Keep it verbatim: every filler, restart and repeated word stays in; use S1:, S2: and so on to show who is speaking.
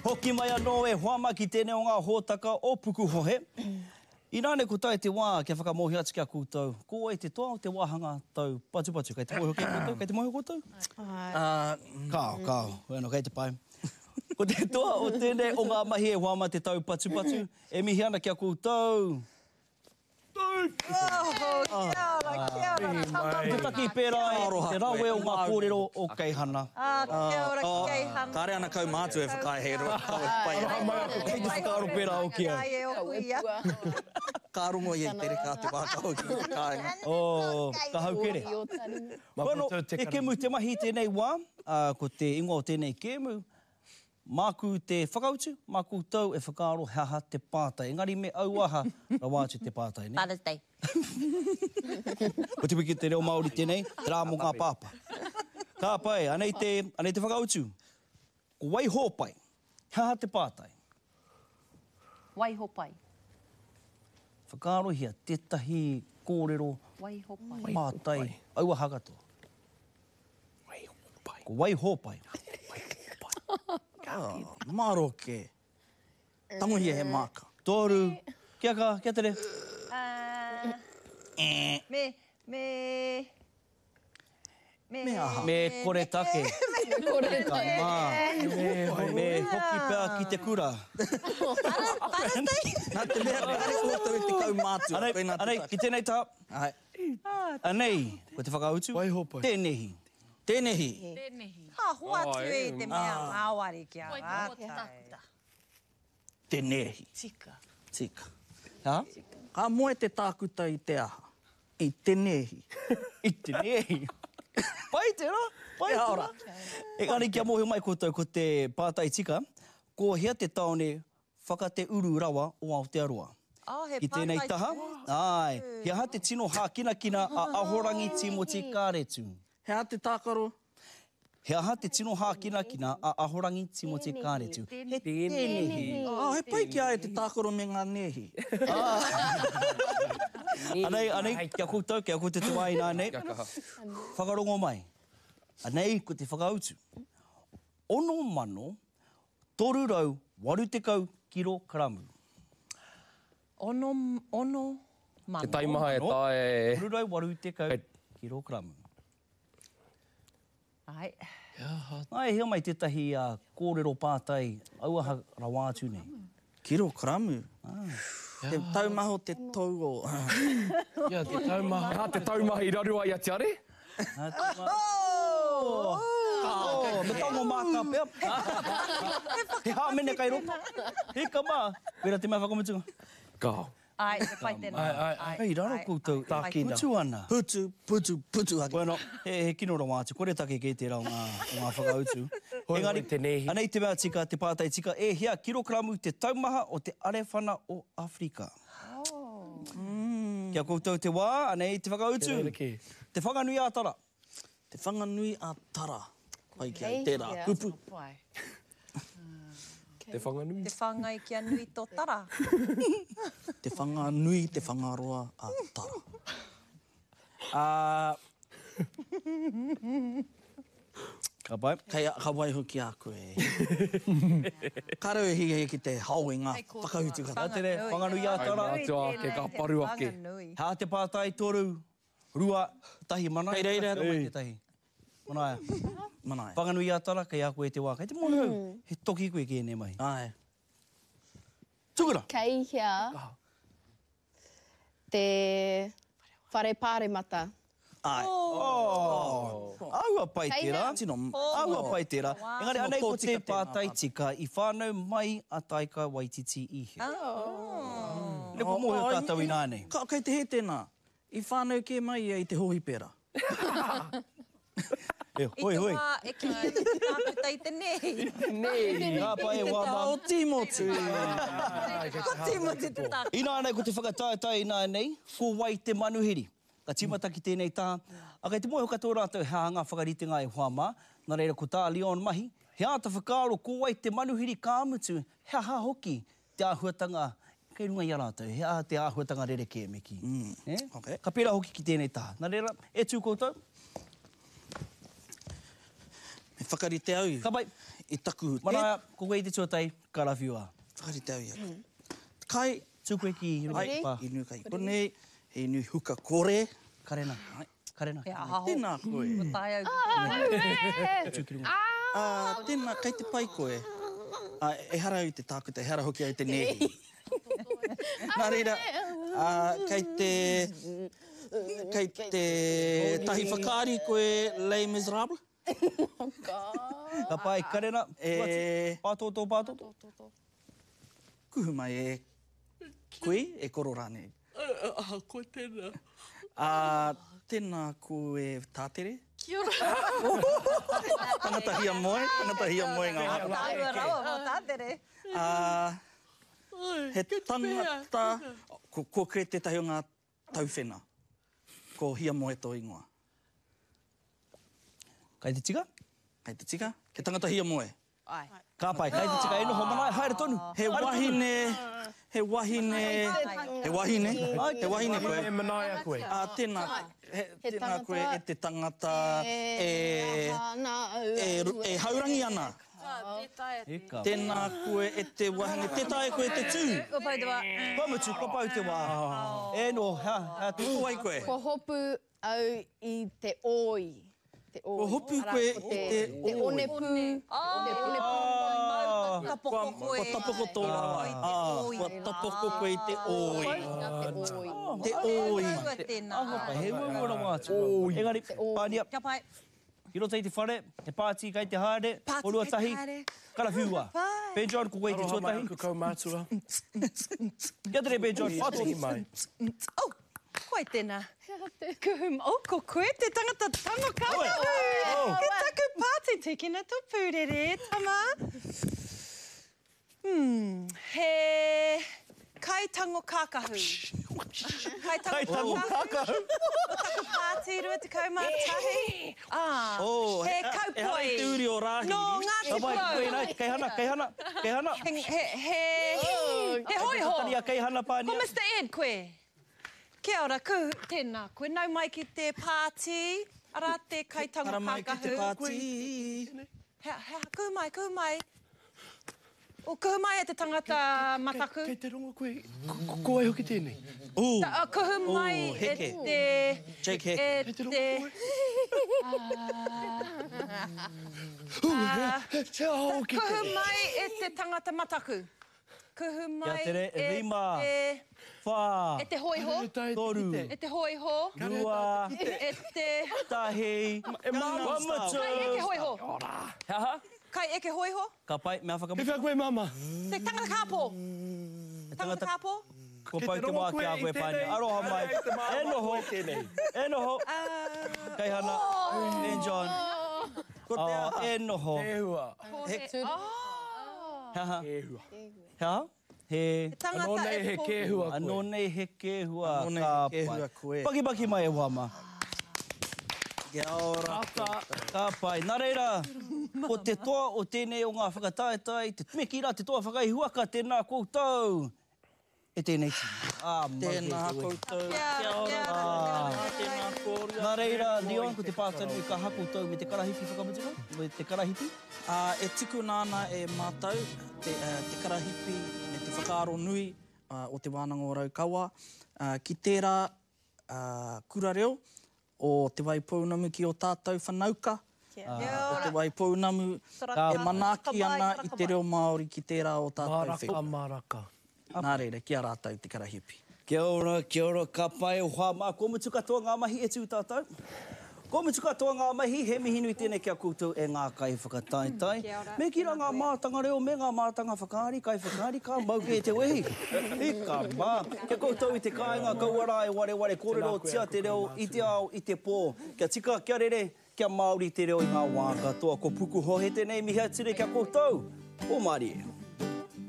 S1: Hoki mai anō e hoa mā ki tēnei o ngā hōtaka o Pukuhohe. Ināne ko tae te wā kia whakamōhio atu ki a koutou, ko wai te toa o te wāhanga tau patupatu. Kei te mōhio kē koutou? Kei te mōhio koutou?
S2: Āe.
S1: Kāo, kāo. Bueno, kei te pai. Ko te toa o tēnei o ngā mahi e hoa mā te tau patupatu, e mihi ana ki a koutou.
S2: Oh, kia ora, kia ora, tama
S1: Te taki pērā e te rawe o ngā kōrero o Keihana.
S2: Ah, kia ora, Keihana.
S3: Kāre ana kaumātua e whakaae he roa kawe pai
S1: ai. Kei te whakaaro pērā hoki au.
S3: Ka rongo ia i te reka a te wā ka hoki ki te kāinga.
S1: Oh, ka haukere. Bueno, he kēmu te mahi i tēnei wā, ko te ingoa o tēnei kēmu, Māku te whakautu, mā koutou e whakaaro he aha te pātai. Engari me auaha rawa atu te pātai, nē?
S2: Father's Day.
S1: Ko te wiki o te reo Māori tēnei, te rā mō ngā pāpā. Ka pai, anei te, anei te whakautu. Ko Waihōpai. He aha te pātai?
S2: Waihopai.
S1: Whakaarohia tētahi kōrero
S2: Waihopai.
S1: pātai auaha katoa.
S3: Waihōpai.
S1: Ko Waihōpai.
S3: Waihōpai. Maro kē. Tangohia he māka.
S1: Toru. Kia kaha, kia tere.
S2: Me, me, me.
S3: Me aha?
S1: Me koretake.
S2: Me koretake.
S1: Mā. Me hoki pea ki te kura.
S2: Father's Day.
S3: Nā te mea kāre koutou i te kaumātua.
S1: Anei, anei, ki tēnei taha.
S3: Āe.
S1: Anei, ko te whakautu.
S4: Waihōpai.
S1: Tēnehi.
S3: Tēnehi.
S5: Tēnehi.
S2: Ka hoatu e te mea ngāwari ki a rātou.
S3: Tēnehi.
S5: Tika.
S3: Tika.
S1: Ha?
S3: Ka moe te tākuta i te aha? I te nēhi.
S1: I te nēhi. Pai tērā, pai tērā. Engari kia mōhio mai koutou ko te pātai tika, ko hea te tāone whakateuru rawa o Aotearoa?
S2: Oh, he
S1: Ki tēnei
S2: pātai
S1: taha, āe, he aha te tino hākinakina a Ahorangi Tīmoti Kāretu?
S3: He aha te tākaro?
S1: He aha te tino hākinakina a Ahorangi Tīmoti Kāretu? He tēnehi.
S3: Oh, he pai ki a ia te tākaro me ngā nēhi.
S1: Anei, anei, ki a koutou, ki a koutou te wā ināianei. Whakarongo mai. Anei ko te whakautu. Ono mano, toru rau waru tekau kirokaramu.
S2: Ono, ono mano.
S6: Te taimaha e taea e.
S1: Toru rau waru tekau kirokaramu.
S2: Ai.
S1: Ai, hea mai tētahi kōrero pātai auaha rawa atu nei.
S3: Kirokaramu? Te taumaha o te tou o.
S4: Ia, te taumaha.
S6: He aha te taumaha i raru ai a Tiare?
S1: Oh! Me tango māka pea. He hāmene kai roto. Hika mā. Koira te mea whakamutunga.
S6: Kao.
S2: Ai, he pai tēnā.
S4: Ai, ai, ai.
S1: Kei raro koutou e putu ana.
S3: Putu, putu, putu ake.
S1: Bueno, he, he kino rawa atu. Kore take kē tērā o ngā, o ngā whakautu.
S4: Hoi,
S1: Engari,
S4: hoi te nēhi.
S1: Anei te mea tika, te pātai tika, e hia kirokaramu te taumaha o te arewhana o Awherika?
S2: Oh.
S1: Kia koutou te wā, anei te whakautu.
S4: Te rerekē.
S1: Te Whanganui a Tara.
S3: Te Whanganui a Tara. Pai ki au tērā kupu.
S6: Te Whanganui.
S2: Te whāngai kia nui tō tara.
S3: Te Whanganui, te Whangaroa a Tara.
S1: Ā. Ka pai.
S3: Kei, ka waiho ki a koe. Ka rau e hiahia ki te hao i ngā whakautu katoa.
S1: Ka tere, Whanganui a Tara.
S6: Kai mātua ake, ka paru ake.
S1: Hā te pātai toru, rua, tahi, manaia.
S3: Kei reira.
S1: Kei reira tētahi. Manaia.
S3: Manaia.
S1: Whanganui a Tara, kei a koe te wā. Kei te mōhio au, he toki koe ki ēnei mahi.
S3: Āe.
S1: Tukuna!
S7: Kei hea te whare pāremata?
S3: Āe.
S1: Oh! Āhua pai
S7: Kei
S1: tērā.
S7: hea?
S3: Tino.
S1: Āhua pai tērā. Engari anei ko te
S3: Tino tōtika tēnā
S1: pātai tika, i whānau mai a Taika Waititi i hea?
S2: Oh.
S1: Ina kua mōhio tātou ināianei.
S3: Ka, kei te hē tēnā. I whānau kē mai ia i te hōhipera.
S1: E, hoi, hoi.
S2: I te wā e kī ana te tākuta i te nēhi.
S6: Nēhi.
S1: Ka pai e wā mā.
S3: O Tīmoti.
S2: Ko Tīmoti te tākuta.
S1: Ināianei ko te whakataetae ināianei, ko wai te manuhiri? Ka tīmata ki tēnei taha. A kei te mōhio katoa rātou he aha ngā whakaritenga e hoa mā. Nā reira ko tā Leon mahi, he āta whakaaro ko wai te manuhiri ka mutu, he aha hoki te āhuatanga kei runga i a rātou, he aha te āhuatanga rerekē me kī.
S3: Mm. Okay.
S1: Ka pērā hoki ki tēnei taha. Nā reira, e tū koutou.
S3: Me whakarite au
S1: Ka pai.
S3: i taku...
S1: Manaia, ko koe i te tuatahi, karawhiua.
S3: Whakarite au i a koe. Kai...
S1: Tū koe ki runga i te pā.
S3: Ai, inu kai konei, he inu huka kore.
S1: Karena, karena.
S2: He aha ho.
S3: Tēnā koe.
S2: Kua tae au.
S7: Ah,
S1: Tū ki runga.
S3: Ah, tēnā, kei te pai koe. Ah, ehara au i te tākuta, ehara hoki au i te nēhi. Nā reira, ah, kei te... Kei te tahi whakaari koe Les Miserables?
S7: Oh, God.
S1: Ka pai, karena.
S3: E...
S1: Pātōtō, pātōtō.
S3: Kuhu mai e kui, e koro rānei.
S4: Ah, koe tēnā.
S3: Ah, tēnā koe tātere.
S7: Kia ora.
S3: Tangata hia moe, tangata hia moe ngā waka.
S2: Tāua rawa mō tātere.
S3: Ah, he tangata, ko, ko koe tētahi o ngā tauwhena. Ko hia moe tō ingoa.
S1: Kai te tika?
S3: Kai te tika? He tangata hia moe.
S2: Ai.
S1: Ka pai, kai te tika e noho manaia, haere tonu.
S3: He wahine, he wahine, he wahine, he wahine koe.
S4: E manaia koe.
S3: Ah, tēnā, he, tēnā koe e te tangata e, e, e haurangi ana. Tēnā koe e te wahine, tē taea koe te tū.
S2: Kua pau te wā.
S1: Kua mutu, kua pau te wā. E no, ha, ha,
S3: Ko wai koe?
S7: Kua hopu au i te oi. Te oi.
S3: Kua hopu koe i te
S7: Te
S3: oi.
S7: onepu. Te onepu.
S1: Ah.
S2: Tapoko koe.
S3: Kua tapoko tō rawa. Ah, kua tapoko koe i te oi.
S7: Te oi.
S3: Te oi.
S2: Oi. Tēnā.
S1: He uaua rawa atu. Engari, pānia.
S2: Kia pai.
S1: Ki roto i te whare, he pāti kai te haere,
S2: Pāti
S1: korua
S2: kai te
S1: tahi,
S2: haere.
S1: karawhiua. Ben John, ko koe i te
S4: Aroha mai
S1: tuatahi.
S4: aku kaumātua.
S1: Kia tere, Ben John,
S4: Mihi mai.
S2: Oh, koe tēnā. Kuhu, oh, ko koe te tangata tango kākahu.
S1: Oh.
S2: Ki taku pāti, tīkina tō pūrere, tama. Hmm, he kaitango kākahu. Kaitango kākahu. O taku pāti, rua tekau mā tahi. Ah,
S3: Oh,
S2: he
S3: he-
S2: kaupoi.
S3: ehara i te uri o Rāhiri.
S2: Nō Ngāti
S1: Ka pai,
S2: Porou.
S1: koe nai, kei hana, kei hana, kei hana.
S2: He, he, he, he hoiho.
S1: Tania, kei hana pānia.
S2: Ko Mister Ed koe. Kia ora, kuhu, tēnā koe. Nau mai ki te pāti, arā te kaitango
S3: Ara mai ki te
S2: kākahu.
S3: pāti.
S2: He, he, kuhu mai, kuhu mai. O, kuhu mai e te tangata mataku.
S4: Kei te rongo koe, ko, ko wai hoki tēnei?
S3: Ooh.
S2: Ta, uh, kuhu mai
S3: Ooh,
S2: e
S3: heke.
S2: te...
S3: Jake Heke.
S2: E
S4: Kei te rongo
S2: te...
S4: koe? He, he aha hoki
S2: Kuhu
S4: tēnei?
S2: mai e te tangata mataku. Kuhu mai
S1: Kia tere,
S2: e
S1: rima.
S2: te...
S1: Whā,
S2: E te hoiho.
S1: toru,
S2: E te hoiho.
S1: rua,
S2: E te...
S1: tahi,
S4: E māma.
S1: kua mutu.
S2: Kai eke hoiho.
S1: He aha?
S2: Kai eke hoiho.
S1: Ka pai, mea
S4: He
S1: whakamutu.
S4: whia koe, māma?
S2: Te tangata kāpō.
S1: Te
S2: Tangata kāpō.
S1: Kua pau te wā ki a koe, pānia. Aroha mai. E noho. E noho. Kei hana. Ben John.
S3: Ko te
S1: Oh,
S3: aha.
S1: e noho.
S4: Kēhua.
S3: He,
S1: He aha?
S4: Kēhua.
S1: He aha? He...
S2: Tangata
S4: Anō nei
S2: e
S4: he
S2: pō-
S4: kēhua koe.
S1: Anō nei he kēhua.
S3: Anō nei he
S1: Ka pai.
S3: kēhua koe.
S1: Pakipaki mai e wā mā.
S3: Kia ora.
S1: Ka pai. Nā reira, ko te toa o tēnei o ngā whakataetae, te meki rā, te toa whakaihuaka, tēnā koutou. E tēnei tīma. Ah, mau
S3: Tēnā
S1: te wehi.
S3: koutou.
S2: Kia
S3: Kia ora.
S2: ora.
S3: Tēnā kōrua.
S1: Nā reira, Leon, ko te pātanu ka ha koutou me te karahipi whakamutunga, me te karahipi.
S3: Ah, e tukuna ana e mātou te, uh, te karahipi me te whakaaro nui uh, o te Wānanga o Raukawa uh, ki tērā uh, kura reo o Te Waipounamu ki o tātou whanauka.
S2: Kia
S3: Uh, o
S2: ora.
S3: Te Waipounamu
S2: Taraka.
S3: e manaaki ana
S2: Taraka
S3: i te reo Māori ki tērā o tātou
S4: Maraka,
S3: whenua.
S4: maraka.
S3: Nā reira, ki a rātou te karahipi.
S1: Kia ora, kia ora, ka pai o hoa mā. Kua mutu katoa ngā mahi e tū tātou. Kua mutu katoa ngā mahi, he mihi nui tēnei ki a koutou e ngā kai whakataetae. Me ki rā ngā mātanga reo, me ngā mātanga whakaari, kai whakaari, ka mau kē te wehi. Ika mā. Kia koutou i te kāinga, kaua rā e wareware kōrero tia te reo i te ao, i te pō. Kia tika, kia rere, kia Māori te reo i ngā wā katoa. Ko Pukuhohe tēnei mihi atire kia koutou. O Mārie.